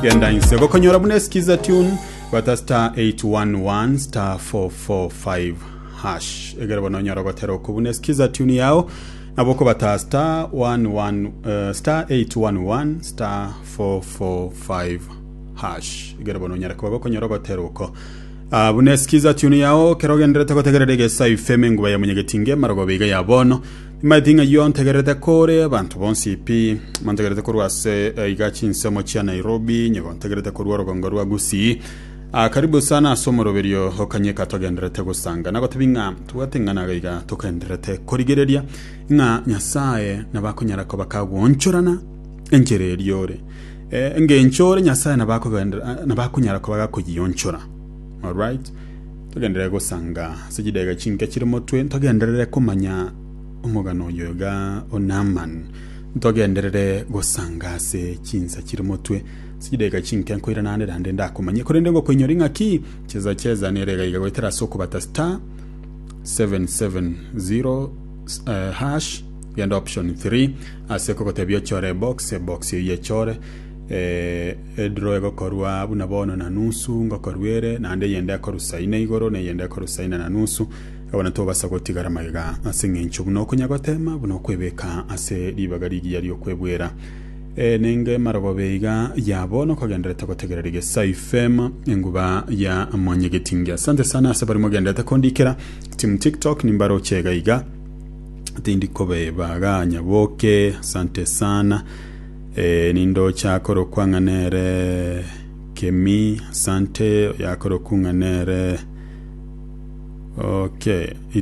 Genda inse gokonyora buna eskiza tune bata star 811 star 445 hash egere bono onyore ogotera oko buna eskiza tune yao nabo okobata star 11 eh, star 811 star 445 hash egere bono onyare koba gokonyora ogotera oko Ah, buna eskiza tune yao kero ogenderete gotegerera egesa ifeme enguba ya monyegetinge marogoba iga ya bono Nimanyete ng'a ayio ntegererete kore abanto bonsi pi, mantegererete korwa ase eh, iga chinsemo chia Nairobi, nyego ntegererete korwa orogongo rwa Gusii. Ah, karibu sana ase omoroberio okanyeka togendererete gosanga. Nagotebi ng'a tobwate ing'ana iga iga togendererete korigereria ng'a Nyasae nabo akonyara koba kagwoonchorana enchera eria ore. Eh, engencho ore Nyasae nabo akogenderera nabo akonyara koba gakoyionchora. Alright? Togenderere gosanga ase chidaiga chinke chire motwe, ntogenderere komanya omogano oyo iga o Naaman. Ntogenderere gosanga ase chinsa chire motwe ase chidaiga chinke nkoirana ande naende ndakomanye. Korende ngokoinyora ing'aki cheza cheza nere iga iga goetera ase okobata star 770 eh, hash genda option 3 ase kogotebia ochore ebox ebox eyio yechore eh, Edraw egokorwa buna bono na nusu ngokorwa ere, naende eyende ekorwa saa ine igoro, na eyende ekorwa saa ine na nusu. Abana tobasa gotigara magega ase engencho buna okonya gotema, buna okwebeka ase ribaga rigiya ri'okwebwera. E, nenge marogoba iga ya bono kogenderete gotegerera Egesaai FM, enguba ya Mwanyagetinge. Asante sana ase baria mogenderete kondikera. Team TikTok nimbaroche iga iga. Tindi kobeba iga Nyaboke, asante sana. Ee, nindoche akorokwa ng'a nere Kemi, asante, oyo akorokwa ng'a nere okay.